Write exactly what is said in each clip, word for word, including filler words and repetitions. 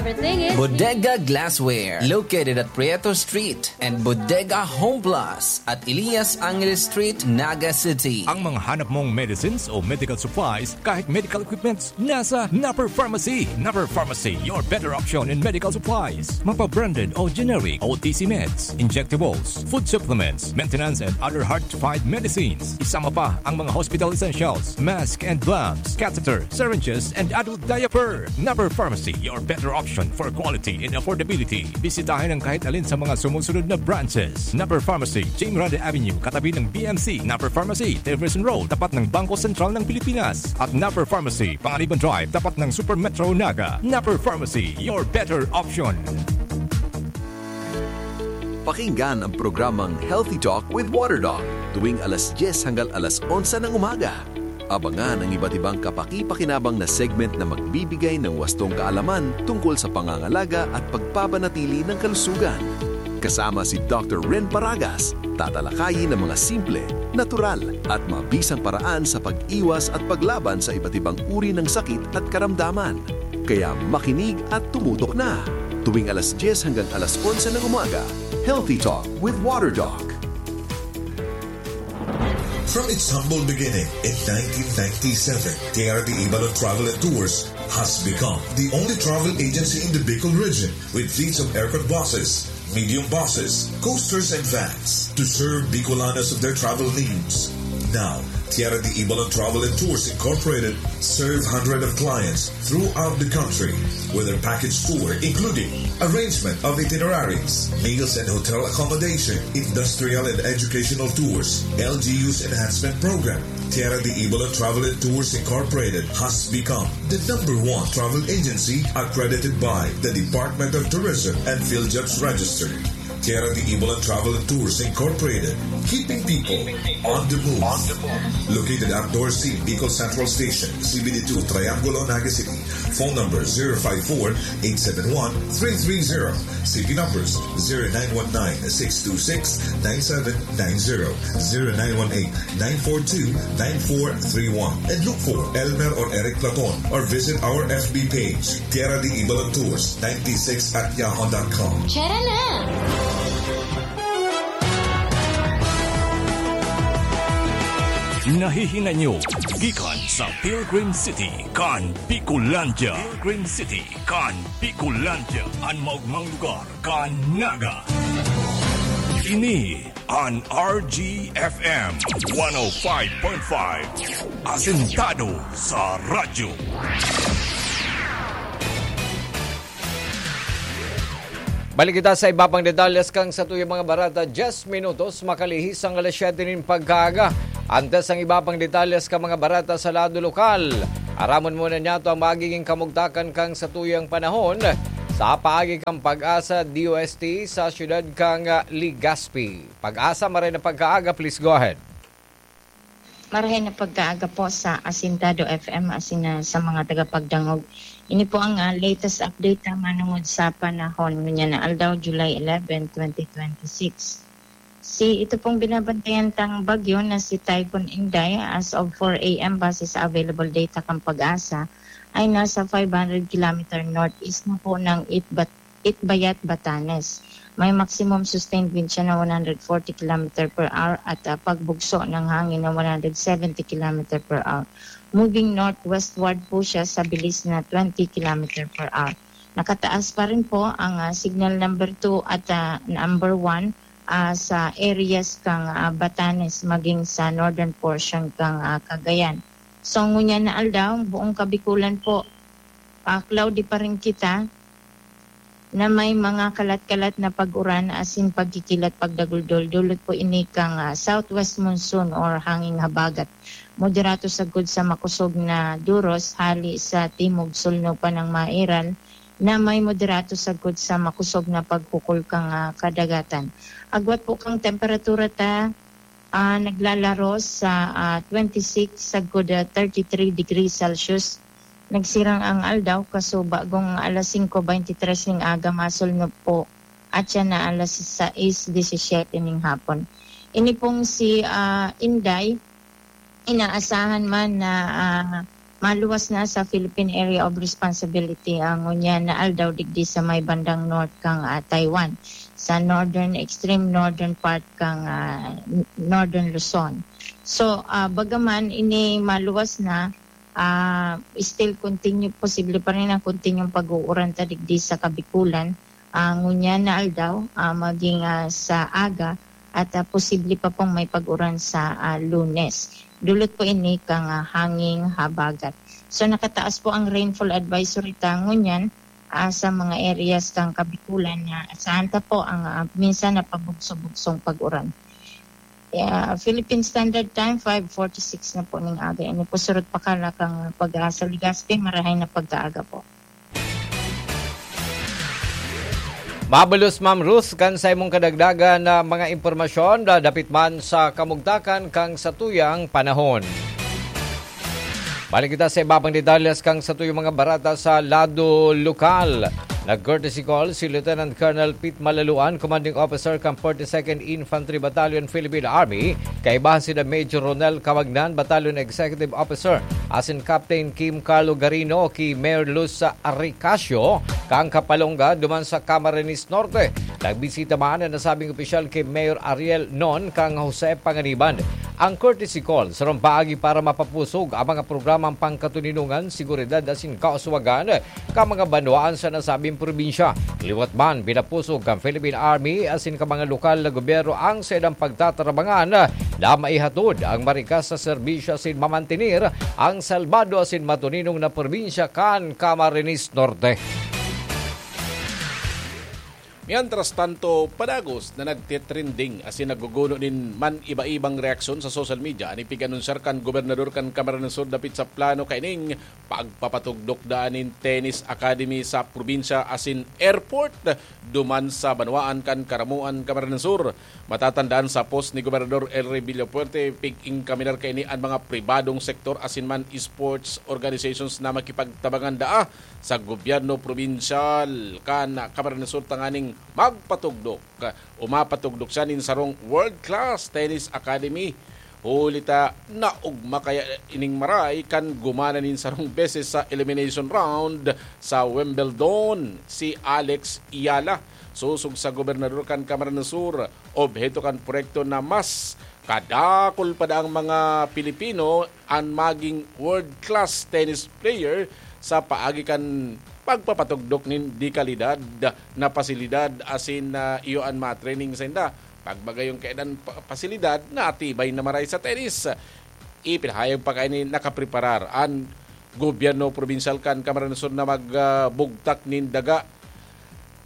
Bodega Glassware, located at Prieto Street, and Bodega Home Plus at Elias Angeles Street, Naga City. Ang mga hanap mong medicines o medical supplies, kahit medical equipments, nasa Napper Pharmacy. Napper Pharmacy, your better option in medical supplies. Mapa-branded o generic, O T C meds, injectables, food supplements, maintenance and other hard-to-find medicines. Isama pa ang mga hospital essentials, mask and gloves, catheter, syringes, and adult diaper. Napper Pharmacy, your better option for quality and affordability. Bisitahin ang kahit alin sa mga sumusunod na branches. Napper Pharmacy, Jim Grande Avenue, katabi ng B M C. Napper Pharmacy, Tilbury Road, tapat ng Bangko Sentral ng Pilipinas. At Napper Pharmacy, Panganiban Drive, tapat ng Super Metro Naga. Napper Pharmacy, your better option. Pakinggan ang programang Healthy Talk with Water Doc tuwing alas dyes hanggang alas onse ng umaga. Abangan ang iba't ibang kapaki-pakinabang na segment na magbibigay ng wastong kaalaman tungkol sa pangangalaga at pagpapanatili ng kalusugan. Kasama si Doctor Ren Paragas, tatalakayin ang mga simple, natural, at mabisang paraan sa pag-iwas at paglaban sa iba't ibang uri ng sakit at karamdaman. Kaya makinig at tumutok na. Tuwing alas dyes hanggang alas onse ng umaga, Healthy Talk with Water Doc. From its humble beginning in nineteen ninety-seven, Tierra de Ibalon Travel and Tours has become the only travel agency in the Bicol region with fleets of aircon buses, medium buses, coasters, and vans to serve Bicolanos of their travel needs. Now, Tierra de Ibalon Travel and Tours Incorporated serve hundreds of clients throughout the country with their package tour, including arrangement of itineraries, meals and hotel accommodation, industrial and educational tours, L G U's enhancement program. Tierra de Ibalon Travel and Tours Incorporated has become the number one travel agency accredited by the Department of Tourism and PhilJobs Register. Tierra de Ibalon Travel and Tours Incorporated, keeping people on the move. Located at Dorsey, Bicol Central Station, C B D two, Triangulo, Naga City. Phone number zero five four, eight seven one, three three zero. C P numbers zero nine one nine, six two six, nine seven nine zero, zero nine one eight, nine four two, nine four three one. And look for Elmer or Eric Platon or visit our F B page, Tierra de Ibalon Tours ninety-six at yahoo dot com. Tara na! Nahihinay nyo gikan sa Pilgrim City kan Bicolandia. Pilgrim City kan Bicolandia, an maogmang lugar kan Naga. Ini an R G F M one oh five point five, asentado sa radyo. Balik kita sa iba pang detalles kan satuyang mga bareta, dyes minutos makalihis an alas siyete nin pagkaaga. Antes ang iba pang detalles kan mga bareta sa lado lokal, aramon muna niyato ang magiging kamugtakan kan satuyang panahon sa paagi kan PAGASA D O S T sa siyudad kan, ah, Legazpi. PAGASA, maray na pagkaaga, please go ahead. Marahay na pagkaaga po sa Asintado F M asin, ah, sa mga tagapagdangog. Ini po ang, ah, latest update, ah, manungod sa panahon ngunyan na aldaw, July eleven, twenty twenty-six. Si ito pong binabantayan tang bagyo na si Typhoon Inday, as of four a m, base sa available data kan PAGASA, ay nasa five hundred kilometer northeast na po ng Itbat-, Itbayat, Batanes. May maximum sustained wind siya na one hundred forty kilometer per hour at, ah, pagbugso ng hangin na one hundred seventy kilometer per hour. Moving northwestward po siya sa bilis na twenty kilometer per hour. Nakataas pa rin po ang, ah, signal number two at, ah, number one, ah, sa areas kang, ah, Batanes maging sa northern portion kang, ah, Cagayan. So, ngunyan na aldaw, buong Kabikulan po, ah, cloudy pa rin kita na may mga kalat-kalat na pag-uran asin pagkikilat pagdaguldol. Dulot po ini kang, ah, southwest monsoon or hanging habagat. Moderato sagkod sa makosog na duros hali sa timog sulno pa ng Mairal na may moderato sagkod sa makosog na paghukol kang, ah, kadagatan. Agwat po kang temperatura ta, ah, naglalaro sa, ah, twenty-six sagkod, ah, thirty-three degrees Celsius. Nagsirang ang aldaw, kaso bagong alas singko beintitres ning aga, masulnop po at siya na alas sais disisiete ning hapon. Ini pong si, ah, Inday, inaasahan man na, ah, maluwas na sa Philippine Area of Responsibility ang ngunyan na aldaw digdi sa may bandang north kang, ah, Taiwan, sa northern, extreme northern part kang, ah, n-, northern Luzon. So, ah, bagaman ini maluwas na, ah, still continue, posible pa rin ang continuong pag-uuran ta digdi sa Kabikulan, ah, ngunyan na aldaw, ah, maging, ah, sa aga at, ah, posible pa pong may pag-uran sa, ah, Lunes. Dulot po ini kang, ah, hanging habagat. So, nakataas po ang rainfall advisory ta ngunyan, ah, sa mga areas kang Kabikulan na asahan ta po ang, ah, minsan na pabugso-bugsong pag-uran. Yeah, Philippine Standard Time, five forty-six na po ning aga. Ini po surot pakala kang Pag-asa Legazpi, marahay na pagkaaga po. Mabulos, Ma'am Ruth, kan sa imong kadagdagan na mga impormasyon, da-, dapit man sa kamugtakan kang satuyang panahon. Balik kita sa iba pang detalles kang satuyang mga barata sa lado lokal. Nag-courtesy call si Lieutenant Colonel Pete Malaluan, Commanding Officer kan forty-second Infantry Battalion, Philippine Army, kaibahan sila Major Ronel Camagnan, Battalion Executive Officer, asin Captain Kim Carlo Garino, ki Mayor Luz Ricasio, kan Kapalonga, duman sa Camarines Norte. Nagbisita man an nasabing opisyal ki Mayor Ariel Non, kan Jose Panganiban. Ang courtesy call sarong paagi para mapapusog ang mga programang pangkatoninongan, seguridad asin kauswagan kan mga banwaan sa nasabing probinsya. Liwat man, pinapusog kan Philippine Army asin kan mga lokal na gobyerno ang saindang pagtatarabangan na maihatod ang marikas na serbisyo asin mamantener ang salbado asin matoninong na probinsya kan Camarines Norte. Mientras tanto, padagos na nagtitrending asin nagguguno nin man-iba-ibang reaksyon sa social media an ipig-anunsiyar kan gobernador kan Camarines Sur dapit sa plano kaining pagpapatugdok daan nin tennis academy sa probinsya asin airport duman sa banwaan kan Caramoan, Camarines Sur. Matatandaan sa post ni Gobernador Elry Villafuerte, pig-inkaminar kaini an mga pribadong sektor asin man sports organizations na makipagtabangan daa sa gobyerno probinsyal kan Camarines Sur tanganing magpatugdok o mapatugdok siya nin sarong world-class tennis academy. Huli ta naogma kaya ining maray kan gumana nin sarong beses sa elimination round sa Wimbledon si Alex Eala. Sosog sa gobernador kan Camarines Sur, obheto kan proyekto na mas kadakul pa daang mga Pilipino an maging world-class tennis player sa paagi kan pagpapatugdok nin de kalidad na pasilidad asin, ah, iyo an mga training sainda. Pag magayon kaiyan pa-, pasilidad, natibay na maray sa tennis. Ipinahayag pa kaini nakapreparar an gobyerno probinsyal kan Camarines Sur na mag, ah, bugtak nin daga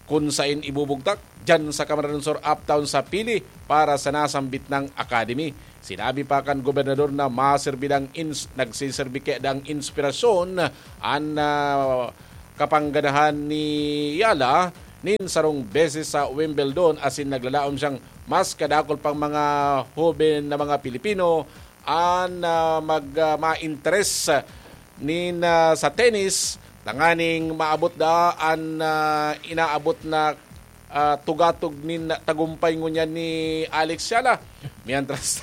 kun sain ibubugtak diyan sa Camarines Sur Uptown sa Pili para sa nasambit nang academy. Sinabi pa kan gobernador na maserbi dang ins-, nagsiserbi kaya dang inspirasyon an, ah, kapangganahan ni Eala nin sarong beses sa Wimbledon asin naglalaom siyang mas kadakul pang mga hoben na mga Pilipino an, ah, mag, ah, ma-interes nin, ah, sa tennis tanganing maabot daa an, ah, inaabot na, ah, tugatog nin tagumpay ngunyan ni Alex Eala. Mientras,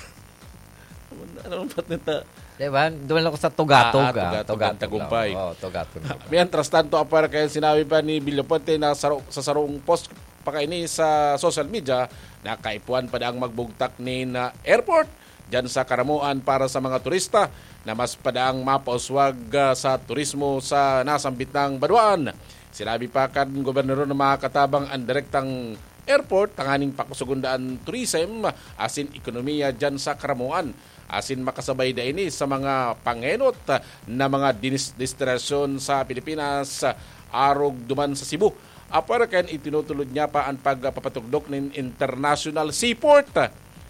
ano, ano ba nito? Di ba? Duman ako sa tugatog, Ah, ah, ah, tugatog tugatog ang tagumpay. lang. Oo, tugatog, di ba? Mientras tanto, apwera kaya sinabi pa ni Villafuerte na saro-, sa sarong post pa kaini sa social media na kaipuhan pa daang magbugtak nin, ah, airport diyan sa Caramoan para sa mga turista na mas padaang mapauswag, ah, sa turismo sa nasambit nang banwaan. Sinabi pa kan gobernador na makakatabang an direktang airport tanganing pakusugon daa an tourism asin ekonomiya diyan sa Caramoan, asin makasabay da ini sa mga pangenot na mga dinis-, destinasyon sa Pilipinas, arog duman sa Cebu. Apwera kan itinutulod niya pa an pagpapatugdok nin international seaport,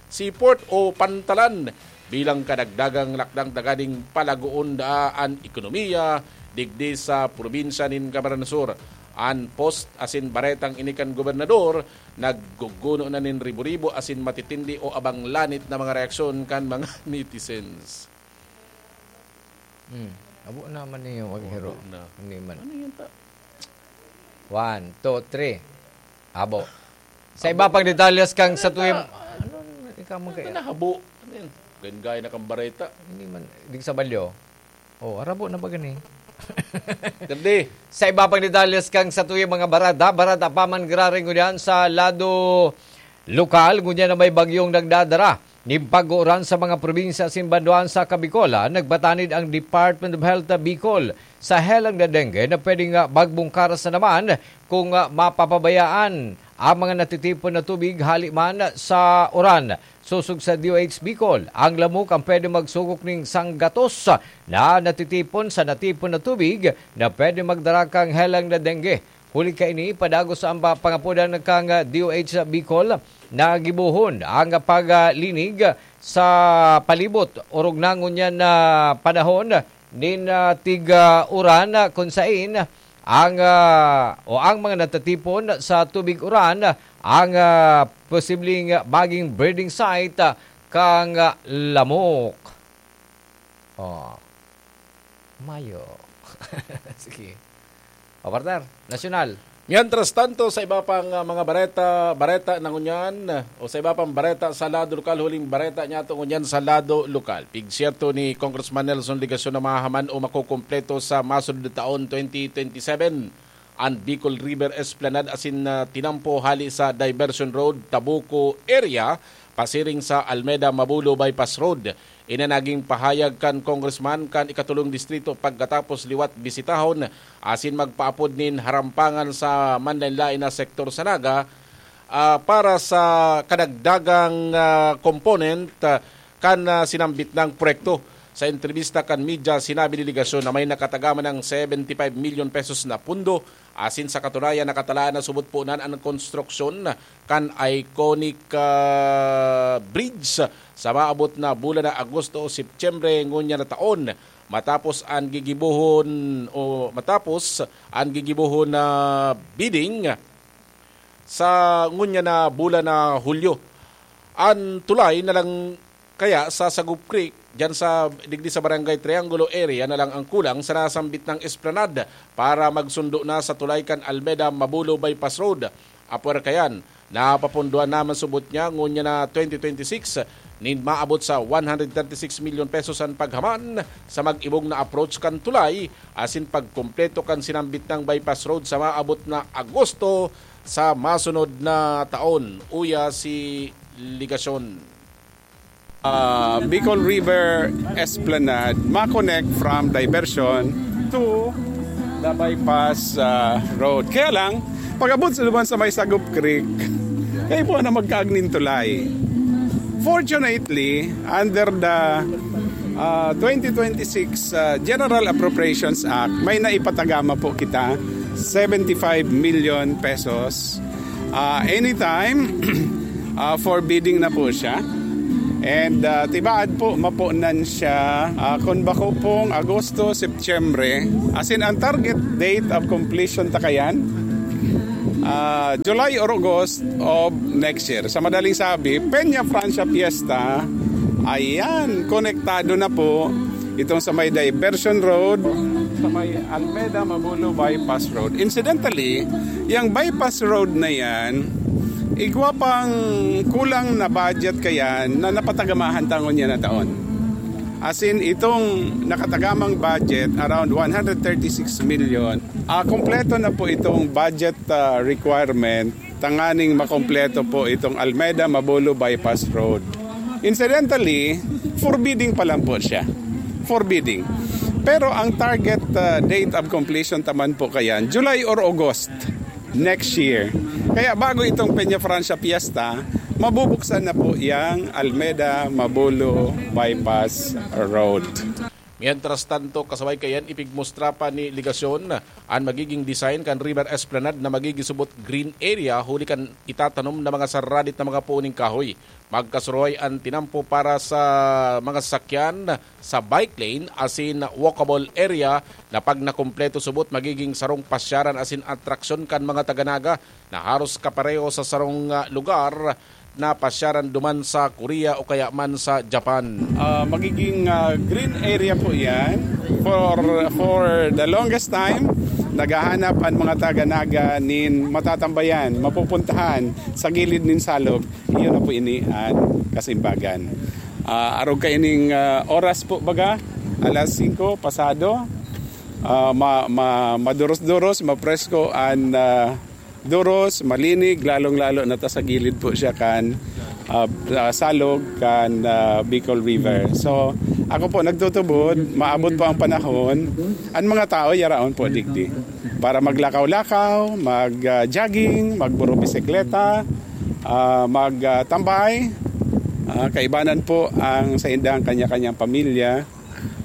seaport o pantalan bilang kadagdagang lakdang tanganing palagoon daa an ekonomiya digdi sa probinsya nin Camarines Sur. An post asin baretang ini kan gobernador nagguguno na nin ribo-ribo asin matitindi o abang lanit na mga reaksyon kan mga netizens. Hmm. Abo naman niyo maghiro. Abo na. Hindi man. Ano yun ta? One, two, three. Abo. Sa Abo. iba pang detalyes kang Ano sa tuwing ta-, ano, ikaw mo Ano kayo? na habo? Ano yun? Gangay na kang bareta. Hindi man. Di sa balyo. Oh, arabo na ba gani? Dali. Sa iba pang detalles kan satuyang mga barada, barada pa man giraray ngunyan sa lado lokal, ngunyan na may bagyong nagdadara nin pag-uuran sa mga probinsya asin banwaan sa Kabikolan. Nagpatanid ang Department of Health Bicol sa helang na dengue na pwedeng, ah, magbungkaras na naman kung, ah, mapapabayaan ang mga natitipon na tubig hali man sa uran. Sosog sa D O H Bicol, ang lamok ang pwede magsugok ning sanggatos na natitipon sa natipon na tubig na pwede magdara kan helang na dengue. Huli kaini, padagos ang pa-, pangapodan kan D O H Bicol na gibohon ang paglinig sa palibot, orog na ngunyan na panahon nin, ah, tig, ah, uran, ah, kun sain ang, ah, o ang mga natatipon sa tubig uran ang, ah, posibleng maging breeding site, ah, kan, ah, lamok. Oh, mayo. Sige. O, partner, nasyonal. Mientras tanto, sa iba pang, ah, mga bareta, bareta na ngunyan, o sa iba pang bareta sa lado lokal, huling bareta niyato ngunyan sa lado lokal. Pigsyerto ni Congressman Nelson Legacion na mahaman o makukumpleto sa masunod na taon, twenty twenty-seven, an Bicol River Esplanade asin, ah, tinampo hali sa Diversion Road, Tabuco area, pasiring sa Almeda Mabulo Bypass Road. Ini naging pahayag kan congressman kan ikatulong distrito pagkatapos liwat bisitahon asin magpaapod nin harampangan sa manlaen-laen na sektor sa Naga, ah, para sa kadagdagang, ah, component, ah, kan, ah, sinambit nang proyekto. Sa entrebista kan media, sinabi ni Legacion na may nakatagama ng seventy-five million pesos na pundo, asin sa katunayan nakatalaan na subot punan an konstruksyon kan iconic, ah, bridge sa maabot na bulan na Agosto o Setyembre ngunyan na taon, matapos an gigibohon o matapos an gigibohon na bidding sa ngunyan na bulan na Hulyo. An tulay na lang kaya sa Sagop Creek, diyan sa, digdi sa Barangay Triangulo area na lang ang kulang sa nasambit nang esplanade para magsundo na sa tulay kan Almeda Mabulo Bypass Road. Apwera kayan, napapunduan naman subot niya ngunyan na twenty twenty-six nin maabot sa one hundred thirty-six million pesos an paghaman sa mag-ibong na approach kan tulay asin pagkumpleto kan sinambit nang bypass road sa maabot na Agosto sa masunod na taon, uya si Legacion. Ah, Bicol River Esplanade ma-connect from Diversion to the bypass, ah, road. Kaya lang, pag-abot sa duman sa may Sagop Creek, kaipuhan na magkaagning tulay. Fortunately, under the, ah, twenty twenty-six, ah, General Appropriations Act, may naipatagama po kita, seventy-five million pesos. Ah, anytime, ah, for bidding na po siya. And, ah, tibaad po, mapunan siya, ah, kung bako pong Agosto, Setyembre. As in, ang target date of completion ta kayan, ah, July or August of next year. Sa madaling sabi, Peña Francia Fiesta, ayan, konektado na po itong sa may Diversion Road, sa may Almeda Mabulo Bypass Road. Incidentally, yung bypass road na yan, igwa pang kulang na budget kayan na napatagamahan ta ngunyan na taon. As in, itong nakatagamang budget, around one hundred thirty-six million, ah, kompleto na po itong budget, ah, requirement tanganing makompleto po itong Almeda Mabulo Bypass Road. Incidentally, forbidding pa lang po siya. Forbidding. Pero ang target, ah, date of completion taman po kayan, July or August next year. Kaya bago itong Peña Francia Fiesta, mabubuksan na po yang Almeda Mabulo Bypass Road. Mientras tanto, kasabay kayan, ipigmustra pa ni Legacion an magiging design kan River Esplanade na magiging subot green area huli kan itatanom na mga saradit na mga puo ning kahoy. Magkasuruhay an tinampo para sa mga sasakyan sa bike lane asin walkable area na pag nakumpleto subot magiging sarong pasyaran asin atraksyon kan mga taga Naga na haros kapareho sa sarong, ah, lugar na pasyaran duman sa Korea o kaya man sa Japan. Ah, magiging, ah, green area po yan. For, for the longest time, naghahanap ang mga taga Naga nin matatambayan, mapupuntahan sa gilid nin salog. Iyon na po ini an kasimbagan. Ah, arog kaining, ah, oras po baga, Alas singko pasado, ah, ma, ma, maduros-duros, mapresko an, ah, duros, malinig, lalong-lalo na ta sa gilid po siya kan, ah, ah, salog kan, ah, Bicol River. So, ako po nagtutubod, maabot po ang panahon, ang mga tao yaraon po digdi para maglakaw-lakaw, mag, ah, jogging, magburo bisikleta, ah, mag, ah, tambay. Ah, kaibanan po ang sa indang kanya-kanyang pamilya.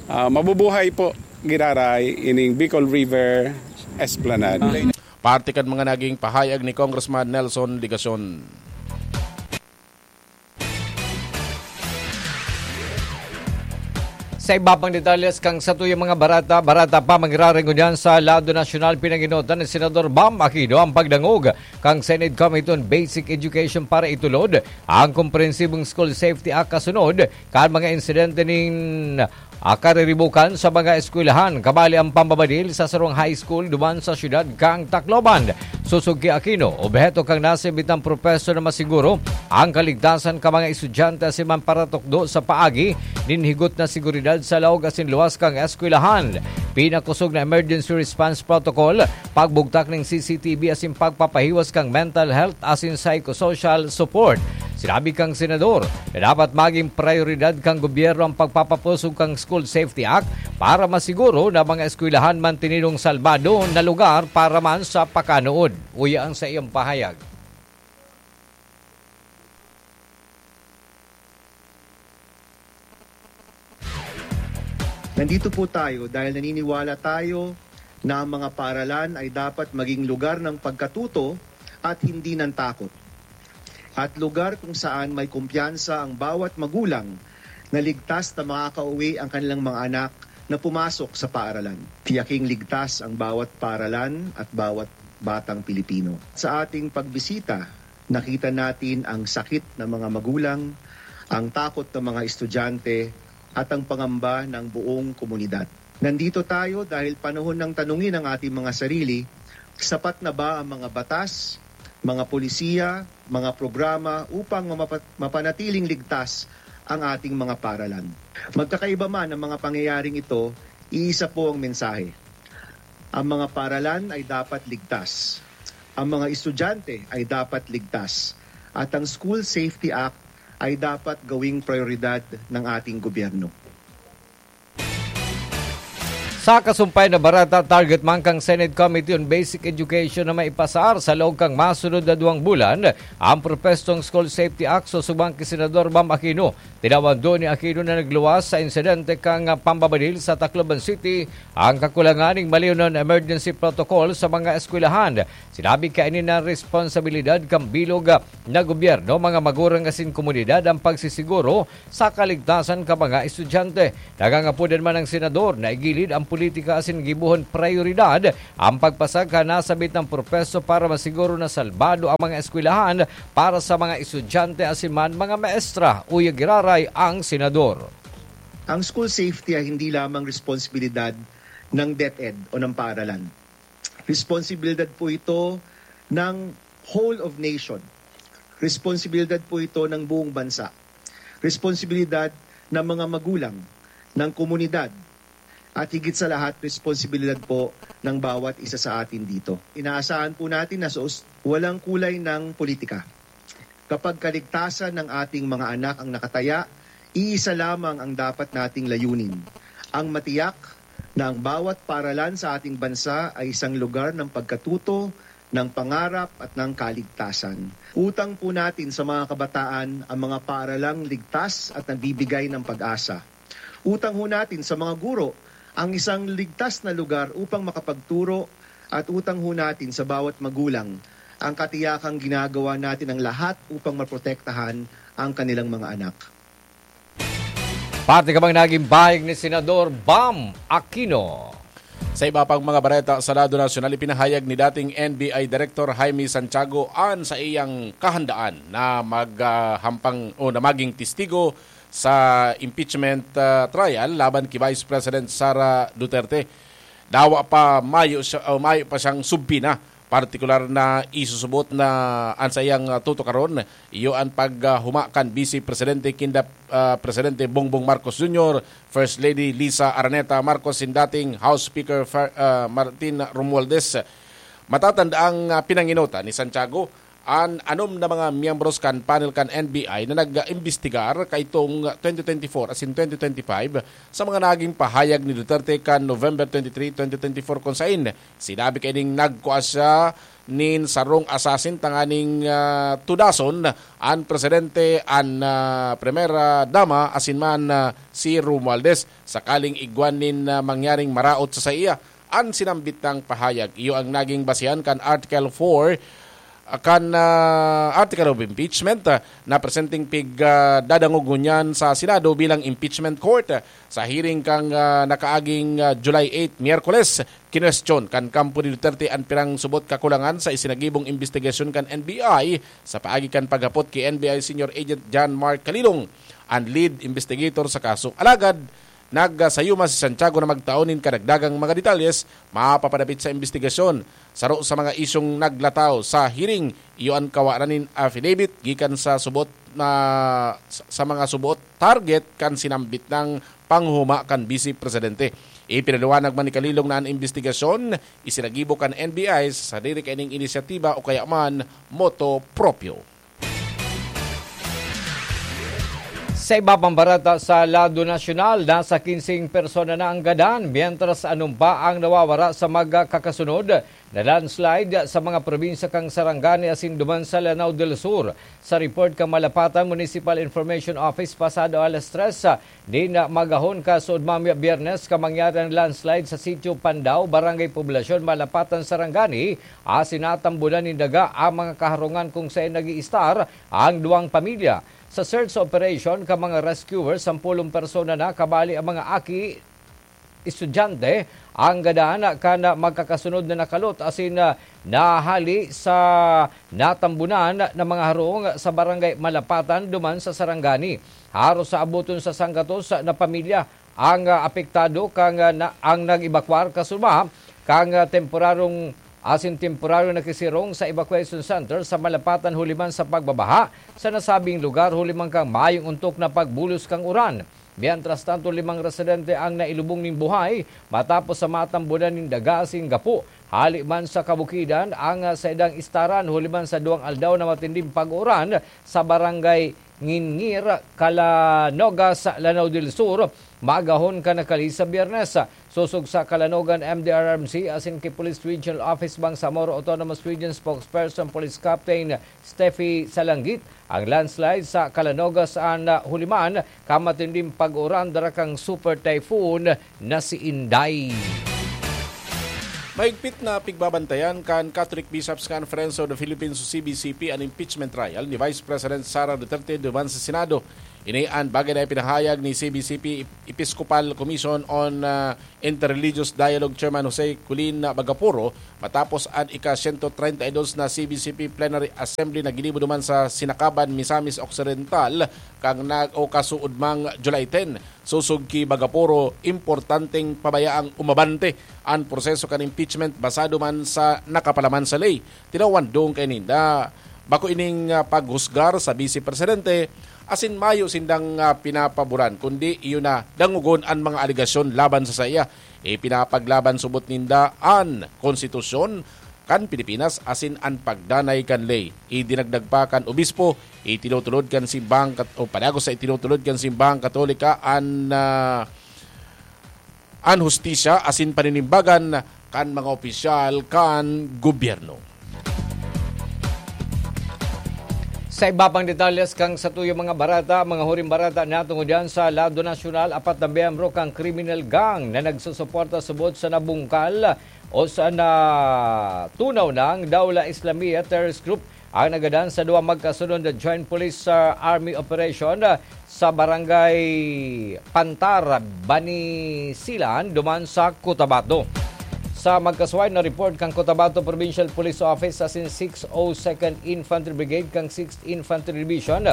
Ah, mabubuhay po giraray ining Bicol River Esplanade. Parte kan mga naging pahayag ni Congressman Nelson Legacion. Sa iba pang detalles kan satuyang mga barata, barata pa, mangyari ngunyan sa lado nasyonal, pinanginotan ni Senador Bam Aquino ang pagdangog kan Senate Committee on Basic Education para itulod ang Komprehensibong School Safety Act kasunod kan mga insidente nin, ah, kariribukan sa mga eskwelahan, kabali ang pambabadil sa sarong high school duman sa siyudad kan Tacloban. Sosog ki Aquino, obheto kan nasambitang proseso na masiguro ang kaligtasan kan mga estudyante asin man paratukdo sa paagi nin higot na seguridad sa laog asin luwas kan eskwelahan. Pinakosog na emergency response protocol, pagbugtak nin C C T V asin pagpapahiwas kan mental health asin psychosocial support. Sinabi kan senador na dapat magin prayoridad kan gobyerno ang pagpapakosog kan School Safety Act para masiguro na mga eskwelahan mantenidong salbado na lugar para man sa pakanuod. Uya ang sa iyang pahayag. Nandito po tayo dahil naniniwala tayo na ang mga paaralan ay dapat maging lugar ng pagkatuto at hindi ng takot. At lugar kung saan may kumpiyansa ang bawat magulang na ligtas na makakauwi ang kanilang mga anak na pumasok sa paaralan. Tiyaking ligtas ang bawat paaralan at bawat batang Pilipino. Sa ating pagbisita, nakita natin ang sakit ng mga magulang, ang takot ng mga estudyante, at ang pangamba ng buong komunidad. Nandito tayo dahil panahon ng tanungin ang ating mga sarili, sapat na ba ang mga batas, mga polisiya, mga programa upang mamapa-, mapanatiling ligtas ang ating mga paaralan. Magkakaiba man ang mga pangyayaring ito, iisa po ang mensahe. Ang mga paaralan ay dapat ligtas. Ang mga estudyante ay dapat ligtas. At ang School Safety Act ay dapat gawing prioridad ng ating gobyerno. Sa kasumpay na barata, target man kan Senate Committee on Basic Education na maipasar sa laog kan masunod na duwang bulan ang propestong School Safety Act, sosog man ki Senador Bam Aquino. Tinawan duon ni Aquino na nagluwas sa insidente kan pambabadil sa Tacloban City ang kakulangan nin maliw na emergency protocol sa mga eskwelahan. Sinabi kaini na responsabilidad kan bilog na gobyerno, mga magurang asin komunidad ang pagsisiguro sa kaligtasan kan mga estudyante. Nagangapod man ang senador na igilid ang politika asin gibohon prayoridad ang pagpasaka nasambit na proseso para masiguro na salbado ang mga eskwelahan para sa mga estudyante asin man mga maestra. Uya giraray ang senador. Ang school safety ay hindi lamang responsibilidad ng DepEd o ng paaralan. Responsibilidad po ito ng whole of nation. Responsibilidad po ito ng buong bansa. Responsibilidad ng mga magulang, ng komunidad, at higit sa lahat, responsibilidad po ng bawat isa sa atin dito. Inaasahan po natin na sa us-, walang kulay ng politika. Kapag kaligtasan ng ating mga anak ang nakataya, iisa lamang ang dapat nating layunin. Ang matiyak na ang bawat paaralan sa ating bansa ay isang lugar ng pagkatuto, ng pangarap at ng kaligtasan. Utang po natin sa mga kabataan ang mga paaralang ligtas at nagbibigay ng pag-asa. Utang ho natin sa mga guro ang isang ligtas na lugar upang makapagturo, at utang ho natin sa bawat magulang ang katiyakang ginagawa natin ang lahat upang maprotektahan ang kanilang mga anak. Parte ka bang naging pahayag ni Senador Bam Aquino? Sa iba pang mga bareta sa lado nasyonal, ipinahayag ni dating N B I Director Jaime Santiago an sa iyang kahandaan na maghampang o na maging testigo sa impeachment, ah, trial laban ki Vice President Sara Duterte. Dawa pa mayo siya, o mayo pa siyang subpoena Partikular na isusubot na an saiyang, ah, tutukaron, iyo an paghuma kan Vice Presidente kinda, ah, Presidente Bongbong Marcos Junior, First Lady Liza Araneta Marcos, sin dating House Speaker Fer-, ah, Martin Romualdez. Matatanda ang, ah, pinanginota ni Santiago, an anom na mga miyembros kan panel kan N B I na nag-imbestigar kaitong twenty twenty-four asin twenty twenty-five sa mga naging pahayag ni Duterte kan November twenty-three, twenty twenty-four, kun sain sinabi kaining nagkua siya nin sarong assassin tanganing, ah, tudason an presidente, an, ah, primera dama, asin man, ah, si Romualdez, sakaling igwan nin, ah, mangyaring maraot sa saiya. An sinambit nang pahayag, iyo ang naging basehan kan Article four, ah, kan, ah, Article of Impeachment, ah, na presenteng pig, ah, dadangog ngunyan sa Senado bilang impeachment court. Sa hearing kan, ah, nakaaging, ah, July eight, Miyerkules, kinwestiyon kan kampo ni Duterte an pirang subot kakulangan sa isinagibong imbestigasyon kan N B I sa paagi kan paghapot ki N B I Senior Agent John Mark Kalilong, an lead investigator sa kaso. Alagad, nagsayuma si Santiago na magtao nin kadagdagang mga detalyes mapapadapit sa imbestigasyon. Saro sa mga isyung naglataw sa hearing, iyo an kawa na nin affidavit gikan sa subot na, sa, sa mga subot target kan sinambit nang panghuma kan Vice Presidente. Ipinaliwanag man ni Kalilong na an imbestigasyon isinagibo kan N B I sa sadiri kaining inisyatiba o kaya man motu proprio. Sa iba pang barata sa lado nasyonal, nasa kinseng persona na ang gadan, mientras anom pa ang nawawara sa magkakasunod na landslide sa mga probinsya kan Sarangani asin duman sa Lanao del Sur. Sa report kan Malapatan Municipal Information Office, pasado alas tres, ah, nin magahon kasuodmang Biyernes ka mangyari ang landslide sa Sitio Pandao, Barangay Poblasyon, Malapatan, Sarangani, asin natambunan nin daga ang mga kaharungan kung saen nag-iistar ang duwang pamilya. Sa search operation kan mga rescuers, sampolong persona na, kabali ang mga aki, estudyante, ang gadan kan magkakasunod na nakalot asin, ah, nahali sa natambunan na mga harong sa Barangay Malapatan duman sa Sarangani. Haros sa abuton sa sanggatos na pamilya ang, ah, apektado kan, ah, na, ang nag-ebakwar kasuma kan, ah, temporarong asin temporaryo na kisirong sa evacuation center sa Malapatan huli man sa pagbabaha sa nasabing lugar huli man kan mayong ontok na pagbulos kan uran. Mientras tanto, limang residente ang nailubong nin buhay matapos sa matambunan nin daga asin gapo. Hali man sa kabukidan ang, ah, saindang istaran huli man sa duwang aldaw na matinding pag-uran sa barangay Ngingir, Calanogas, Lanao del Sur, maagahon kan nakalihis sa Biyernes. Sosog sa Calanogan M D R R M C asin ki Police Regional Office Bangsamoro Autonomous Region Spokesperson Police Captain Steffi Salanggit, ang landslide sa Calanogas an, ah, huli man kan matinding pag-uran dara kan Super Typhoon na si Inday. Mahigpit na pigbabantayan kan Catholic Bishops' Conference of the Philippines o C B C P an impeachment trial ni Vice President Sara Duterte duman sa Senado. Ini an bagay na ipinahayag ni C B C P Episcopal Commission on, ah, Interreligious Dialogue Chairman Jose Colin Bagapuro matapos an ika-sento treinta y dos na C B C P Plenary Assembly na ginibo duman sa Sinacaban, Misamis Occidental, kan nag-, o kasuodmang July ten. Sosog ki Bagapuro, importanteng pabayaang umabante an proseso kan impeachment basado man sa nakapalaman sa ley. Tinawan dong kaininda, bako ining, ah, paghusgar sa Vice Presidente, asin mayo sindang, ah, pinapaboran, kundi iyo na dangogon an mga alegasyon laban sa saiya. Ipinapaglaban subot ninda an konstitusyon kan Pilipinas asin an pagdanay kan ley. Idinagdag pa kan obispo, itinutulod kan simbahang kat-, o padagos sa itinutulod kan simbahang Katolika an, ah, an hustisya asin paninimbagan kan mga opisyal kan gobyerno. Sa iba pang detalles kan satuyang mga barata, mga huring barata, natungod yan sa lado nasyonal, apat na miyembro kan criminal gang na nagsusuporta subot sa nabungkal o sa natunaw nang Daula Islamiyah terrorist group ang nagadan sa duwa magkasunod na joint police, ah, army operation, ah, sa barangay Pantar, Banisilan, duman sa Cotabato. Sa magkasuway na report kan Cotabato Provincial Police Office asin six oh second Infantry Brigade kan sixth Infantry Division,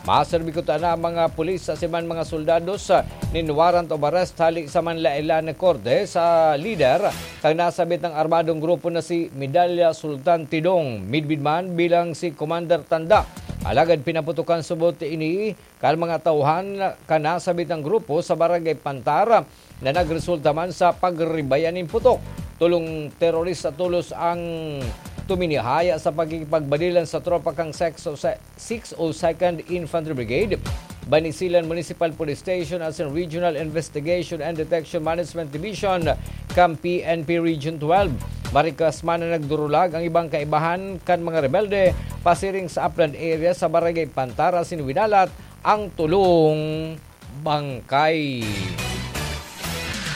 maserbi kuta na ang mga pulis asin man mga soldados, ah, nin warrant of arrest hali sa Manlaila na korte sa lider kan nasabit na armadong grupo na si Medalla Sultan Tidong, midbid man bilang si Commander Tanda. Alagad pinaputokan subot ini kan mga tauhan kan nasabit na grupo sa Barangay Pantar na nagresulta man sa pagribayan nin putok. Tolong terorista tolos ang tuminihaya sa pakikipagbadilan sa tropa kan six oh second Infantry Brigade, Banisilan Municipal Police Station asin Regional Investigation and Detection Management Division kan P N P Region twelve. Marikas man na nagdurulag ang ibang kaibahan kan mga rebelde pasiring sa upland area sa Barangay Pantar asin winalat ang tolong bangkay.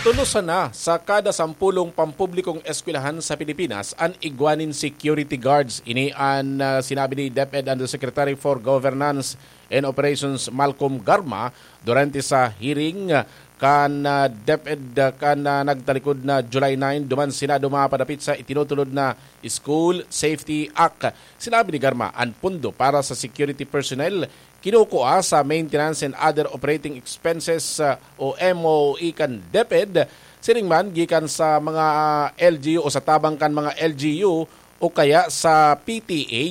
Tolo sana sa kada sampulong pampublikong eskwelahan sa Pilipinas an igwa nin security guards. Ini an, ah, sinabi ni DepEd Undersecretary for Governance and Operations Malcolm Garma durante sa hearing, ah, kan, ah, DepEd, ah, kan, ah, nagtalikod na July nine duman Senado mapadapit sa itinutulod na School Safety Act. Sinabi ni Garma, an pondo para sa security personnel kinukua sa maintenance and other operating expenses, ah, o M O E kan DepEd, siring man gikan sa mga, ah, L G U o sa tabang kan mga L G U o kaya sa P T A.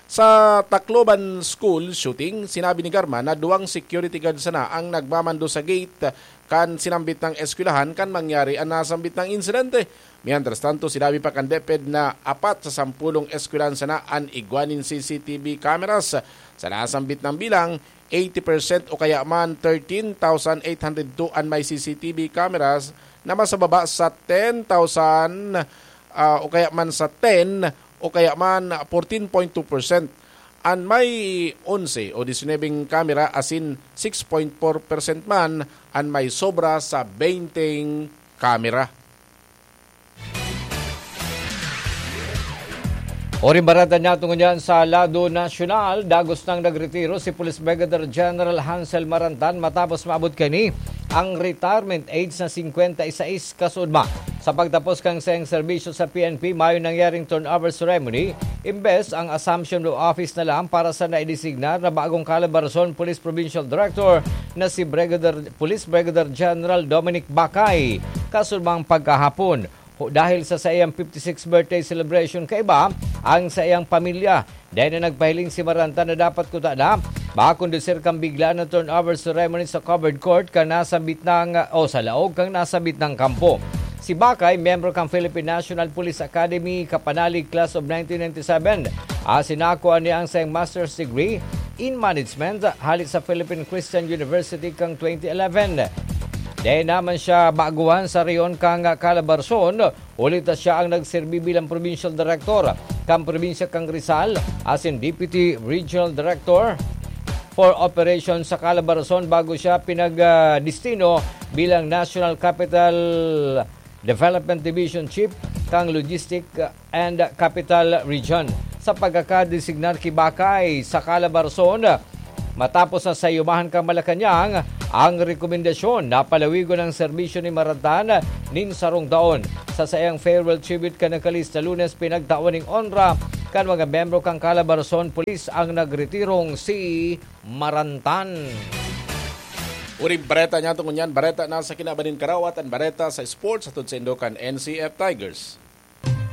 Sa Tacloban School shooting, sinabi ni Garma na duwang security guard sana ang nagmamando sa gate kan sinambit na eskwelahan kan mangyari an nasambit na insidente. Mientras tanto, sinabi pa kan DepEd na apat sa sampulong eskwelahan sana an igwa nin C C T V cameras. Sa nasambit na bilang, eighty percent o kaya man thirteen thousand eight hundred two an may C C T V cameras na mas mababa sa ten thousand, ah, o kaya man sa ten o kaya man fourteen point two percent. An may onse o disinebeng kamera asin six point four percent man an may sobra sa benteng kamera. Oring bareta niya tungod yan sa lado nasyonal, dagos nang nagretiro si Police Brigadier General Hansel Marantan matapos maabot kani ang retirement age na singkwenta y seis kasuodma. Sa pagtapos kan saiyang serbisyo sa P N P, mayo nangyaring turnover ceremony, imbes ang assumption of office na lang para sa naidesignar na bagong Calabarzon Police Provincial Director na si Brigadier, Police Brigadier General Dominic Bacay. Kasuodmang pagkahapon, ho-, dahil sa saiyang fifty-sixth birthday celebration, kaiba ang saiyang pamilya. Dai na nagpahiling si Marantan na dapat kuta na makondusir kan biglaan na turnover ceremony sa covered court kan nasambit na, o sa laog kan nasambit na kampo. Si Bacay, miyembro kan Philippine National Police Academy, kapanalig class of nineteen ninety-seven, asin nakua niya ang saiyang master's degree in management hali sa Philippine Christian University kan twenty eleven. Dai naman siya baguhan sa rehiyon kan Calabarzon, huli ta siya ang nagserbi bilang provincial director kan probinsya kan Rizal, asin Deputy Regional Director for Operations sa Calabarzon bago siya pinag-, ah, destino bilang National Capital Development Division Chief kan Logistic and Capital Region. Sa pagkakadesignar ki Bacay sa Calabarzon, matapos na sayumahan kan Malacañang ang rekomendasyon na palawigon ang serbisyo ni Marantan nin sarong taon. Sa saiyang farewell tribute kan nakalista Lunes, pinagtawan ning onra kan mga miyembro kan Calabarzon Police ang nagretirong si Marantan. Uring bareta niya tungod niyan, bareta na sa kinaban nin karawat, an bareta sa sports, hatod saindo kan N C F Tigers.